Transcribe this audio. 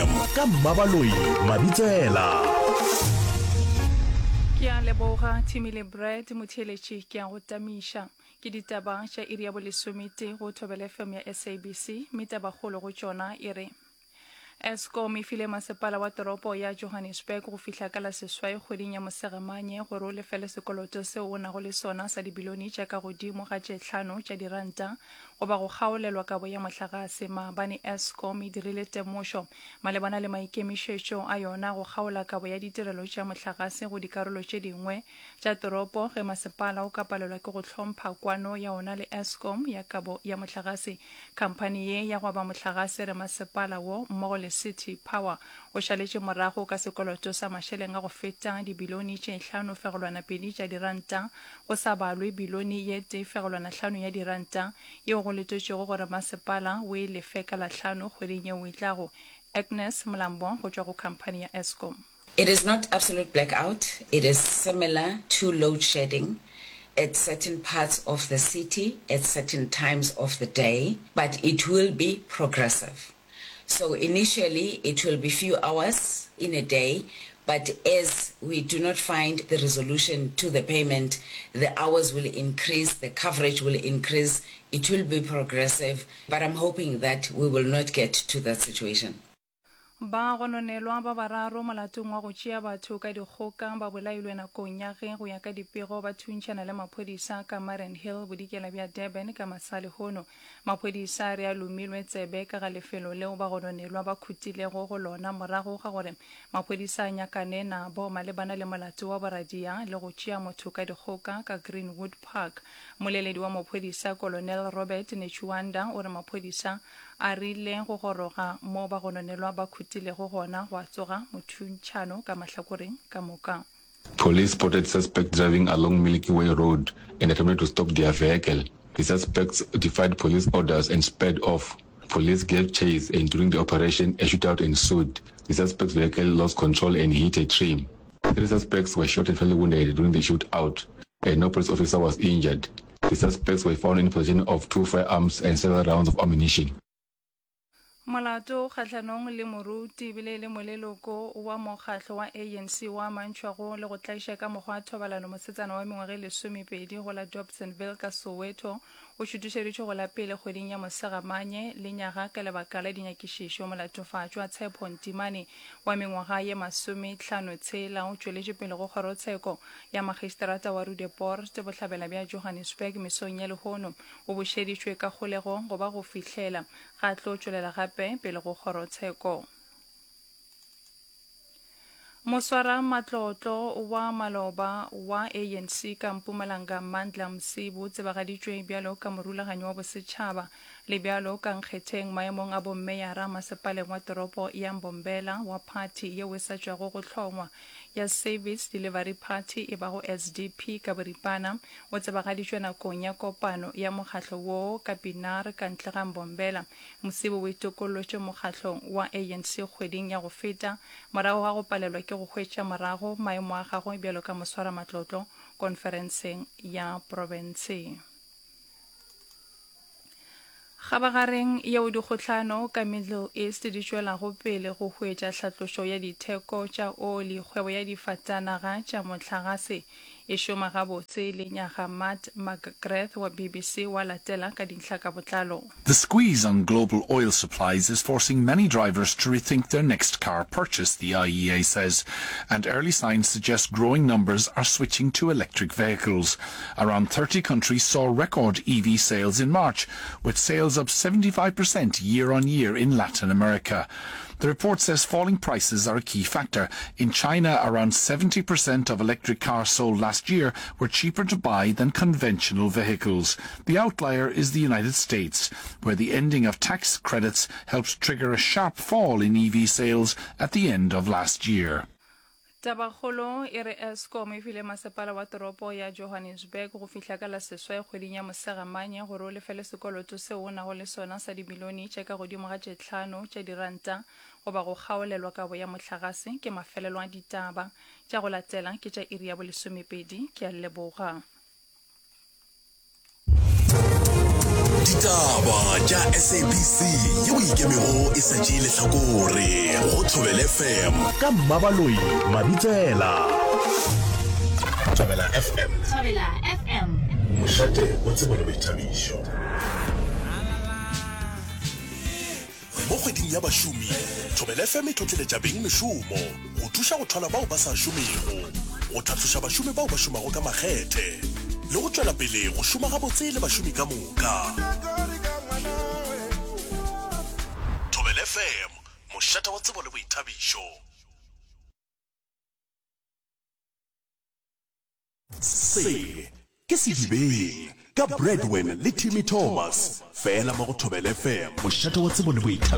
FM ka Mmabaloi Mabitsela. Ke a leboga Timmy le Brad motheeletši ke a go tamiša. Ke ditaba tša iri ya bolesometee go Thobela FM ya SABC mme tabakgolo go tšona e re Eskom e file masepala wa toropo ya Johannesburg go fihla ka la seswai kgweding ya Mosegamanye gore o lefele sekoloto seo o nago le sona sa dibilione tša ka godimo ga tše hlano tša diranta goba go kgaolelwa kabo ya mohlagase. Maabane Eskom e dirile temošo malebana le maikemišetšo a yona go kgaola kabo ya ditirelo tša mohlagase go dikarolo tše dingwe tša toropo ge masepala o ka palelwa ke go hlompha kwano ya ona le Eskom ya kabo ya mohlagase. Khamphani ye ya go aba mohlagase re masepala wo mmogo le City Power o šaletše morago ka sekoloto sa mašeleng a go feta dibilione tše 5.2 tša diranta go sa balwe bilione ye 1.5 ya diranta yeo go letetšwego gore masepala o e lefe ka Lahlano kgweding yeo e tlago. Agnes Mlambo go tšwa go khamphani ya Eskom. It is not absolute blackout, it is similar to load shedding at certain parts of the city at certain times of the day, but it will be progressive. So initially it will be few hours in a day, but as we do not find the resolution to the payment, the hours will increase, the coverage will increase, it will be progressive, but I'm hoping that we will not get to that situation. Ba gononelwa ba bararo molatong wa go tšea batho ka dikgoka ba bolailwe nakong ya ge go ya ka dipego ba thuntšhana le maphodisa ka Mariannhill bodikela bja Durban ka masa lehono. Maphodisa a re a lomilwe tsebe ka ga lefelo leo ba gononelwa ba khutilego go lona morago ga gore maphodisa a nyakane nabo malebana le molato wa boradia le go tšea motho ka dikgoka ka Greenwood Park. Mmoleledi wa mophodisa Colonel Robert Netshiunda o re maphodisa A rile go goroga mo bagononelwa ba khutilego gona gwa tsoga mothuntšhano ka mahlakoreng ka moka. Police spotted suspects driving along Milky Way Road and attempted to stop their vehicle. The suspects defied police orders and sped off. Police gave chase and during the operation, a shootout ensued. The suspects' vehicle lost control and hit a tree. Three suspects were shot and fatally wounded during the shootout and no police officer was injured. The suspects were found in possession of two firearms and several rounds of ammunition. Molato kgahlanong le moruti ebile e le moleloko wa mokgahlo wa ANC wa amantšhwago le go tlaiša ka mokgwa wa thobalano mosetsana wa mengwaga e lesomepedi go la Dobsonville ka Soweto o šutišeditšwe go la pele kgweding ya Mosegamanye lenyaga ka lebaka la dinyakišišo. Molatofatšwa Tshepo Ntimane wa mengwaga ye masometlhanotshela o tšweletše pele go kgorotsheko ya magistrata wa Roodepoort bohlabela bja Johannesburg mesong ya lehono. O bušeditšwe ka kgolegong go ba go fihlela ga tlo tšwelela gape pele go kgorotsheko. Moswara matlotlo wa maloba wa ANC ka Mpumalanga Mandla Msibu o tsebagaditšwe bjalo ka morulaganyi wa bosetšhaba le bjalo ka nkgetheng maemong a bommeyara masepaleng wa toropo ya Mbombela wa phathi yeo e sa tšwago go hlongwa ya Service Delivery Party e bago SDP ka boripana, o tsebagaditšwe nakong ya kopano ya mokgatlo woo ka Pienaar ka ntle ga Mbombela. Msibu o itokollotše mokgatlong wa ANC kgweding ya go feta morago ga go palelwa ke go hwetša morago maemo a gagwe bjalo ka moswaramatlotlo konferenseng ya profense. Kgabagareng yeo dikgohlano ka Middle East di tšwelago pele go hwetša hlatlošo ya ditheko tša oli, kgwebo ya difatanaga tša mohlagase e šoma gabotse lenyaga. Matt McGrath wa BBC wa latela ka dintlha ka botlalo. The squeeze on global oil supplies is forcing many drivers to rethink their next car purchase, the IEA says, and early signs suggest growing numbers are switching to electric vehicles. Around 30 countries saw record EV sales in March, with sales up 75% year on year in Latin America. The report says falling prices are a key factor. In China, around 70% of electric cars sold last year were cheaper to buy than conventional vehicles. The outlier is the United States, where the ending of tax credits helped trigger a sharp fall in EV sales at the end of last year. Tabakgolo e re Eskom e file masepala wa toropo ya Johannesburg go fihla ka la seswai kgweding ya Mosegamanye gore o lefele sekoloto seo o nago le sona sa dimilione tše ka godimo ga tše tlhano tša diranta goba go kgaolelwa kabo ya mohlagase. Ke mafelelo a ditaba. Tša go latela ke tša iri ya bolesomepedi. Ke a leboga. Ditaba tša SABC yeo e ikemego e sa tšee lehlakore go Thobela FM ka Mmabaloi Mabitsela. Thobela FM. Thobela FM. Mošate wa tsebo le boithabišo. Mo kgweding ya bašomi, Thobela FM e tlotleletša beng mešomo go thuša go thwala bao ba sa šomego, go tlhatloša bašomi bao ba šomago ka makgethe le go tšwela pele go šoma gabotse le bašomi ka moka. Thobela FM, mošate wa tsebo le boithabišo. Se ke Sedibeng ka Bradwin le Timmy Thomas, fela mo go Thobela FM, mošate wa tsebo le boithabišo.